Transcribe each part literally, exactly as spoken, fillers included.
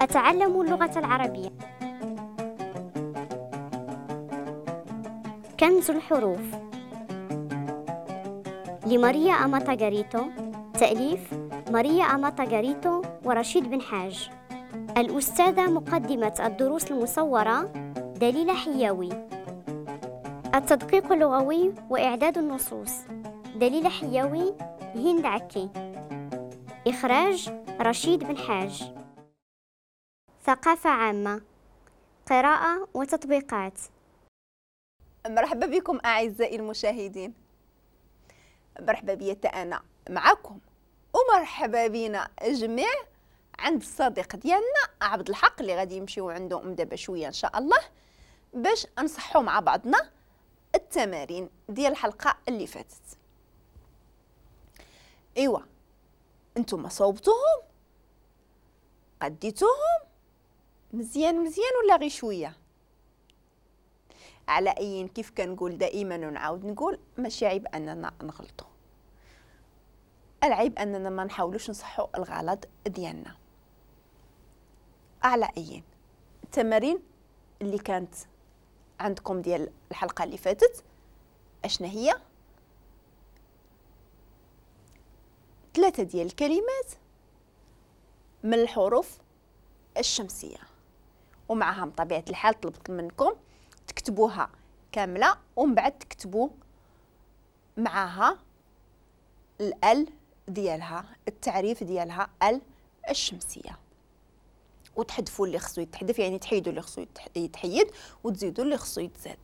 أتعلم اللغة العربية. كنز الحروف لماريا أماتا غاريتو، تأليف ماريا أماتا غاريتو ورشيد بن حاج. الأستاذة مقدمة الدروس المصورة دليلة حياوي. التدقيق اللغوي وإعداد النصوص دليلة حياوي، هند عكي. إخراج رشيد بن حاج. ثقافة عامة، قراءة وتطبيقات. مرحبا بكم أعزائي المشاهدين، مرحبا بيا أنا معكم ومرحبا بينا جميع عند الصديق ديالنا عبد الحق اللي غادي يمشيو عنده من دابا شوية ان شاء الله باش نصحوا مع بعضنا التمارين ديال الحلقة اللي فاتت. ايوا انتم صوبتوهم قديتوهم مزيان مزيان ولا غير شوية؟ على اي كيف كنقول دائما ونعاود نقول ماشي عيب اننا نغلطوا، العيب اننا ما نحاولوش نصحوا الغلط ديالنا. على اي التمارين اللي كانت عندكم ديال الحلقة اللي فاتت اشنا هي؟ ثلاثة ديال الكلمات من الحروف الشمسية، ومعها بطبيعة الحال طلبت منكم تكتبوها كاملة ومن بعد تكتبوا معها ال ديالها، التعريف ديالها ال الشمسية، وتحذفوا اللي خصو يتحذف، يعني تحيدوا اللي خصو يتحيد وتزيدوا اللي خصو يتزاد.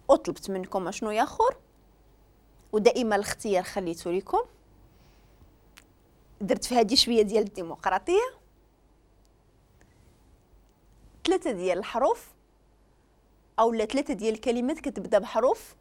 وطلبت منكم اشنو يا خور، ودائما الاختيار خليته لكم، درت في هذه شوية ديال الديمقراطية. ثلاثة ديال الحروف او لا ثلاثة ديال الكلمات كتبدا بحروف